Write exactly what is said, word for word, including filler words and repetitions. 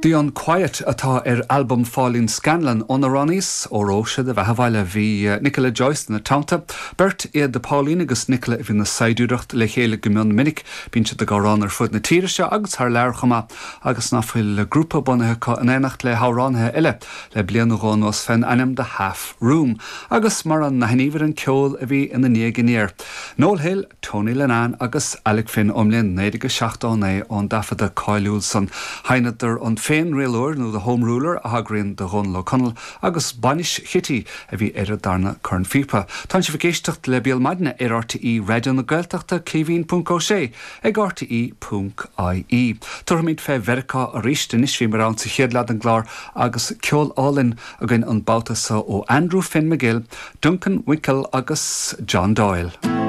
The Unquiet atá ar albam Pháilín Scanlon ónar roghnaíos Óró Sé do Bheatha 'Bhaile bhí Nicola Joyce ina teannta, Beirt iad Pauline agus Nicola a bhíonn ag saighdiúireacht le chéile go mion minic, bíonn siad ag amhrán ar fud na tíre seo agus thar lear chomh maith agus ná fuil grúpa bunaithe acu in éineacht le hamhránaithe eile le bliain nó dhó anuas fén ainm The Half Room, agus mar a n-aithníobhair an ceol a bhí ina ndiaidh aniar. Noel Hill, Tony Linnane agus Alec Finn ón mbliain naoi déag seachtó naoi ón dtaifeadadh cáiliúil san. Sheinneadar an Féinrialóir nó The Home Ruler a thagraíonn do Dhónal Ó Conaill agus Bainis Chití a bhí ar an darna cornphíopa. Tá sibh ag éisteacht le Béal Maidine ar RTÉ Raidió na Gaeltachta Caoimhín ponc Ó Sé ag RTÉ ponc IE. Tabharfaimid fé Mheiriceá arís anois bhíomar ann sa chéad leath den gclár agus ceol álainn againn an babhta seo ó Andrew Finn McGill, Duncan Winkle agus John Doyle.